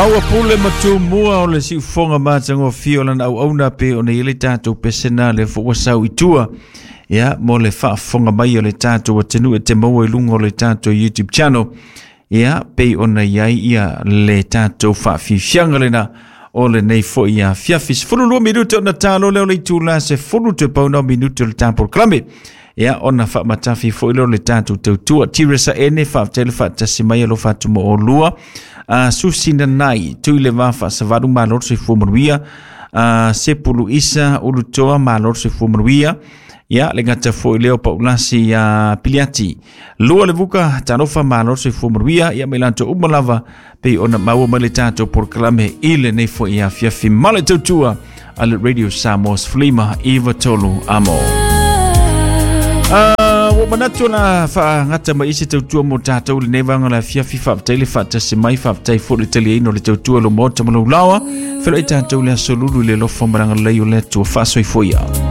Maua pule ma tumua o le siufoga matagofie o lana auauna pe ona i ai le tatou pesena lea foi ua sau i tua ia mo le faafofoga mai o le tatou atunuu e te maua i luga o le tatou YouTube channel ia pei ona i ai ia le tatou faafiafiaga lena o lenei foi afiafi. 12 minute ona talo lea o le itula 10 toe pau na o minute o le tatou polokalame. Ia ona faamatafi foi lea o le tatou tautua. Tiresa Ene, faafetai le faatasi mai alofa atu mo oulua. Susi Nanai, tui le va faasavalu malo le soifua manuia. Sepulu Isa Ulutoa, malo le soifua manuia. Ia, le gata foi lea o Paulasi ia Piliati. Lua le vuka, talofa malo le soifua manuia. Ia mai latou uma lava, pei ona maua mai le tatou polokalame i lenei foi afiafi. Ma le tautua a le Radio Samoa Flima Iva Tolu Amo. Ua manatu la faagata mai isi tautua mo tatou lenei vaega o le afiafi. Faafetai le faatasi mai, faafetai foi le taliaina o le tautua lo maota ma lou laoa. Feiloai tatou le aso lulu i le alofa ma le agalelei o le Atua. Faasoifua ia.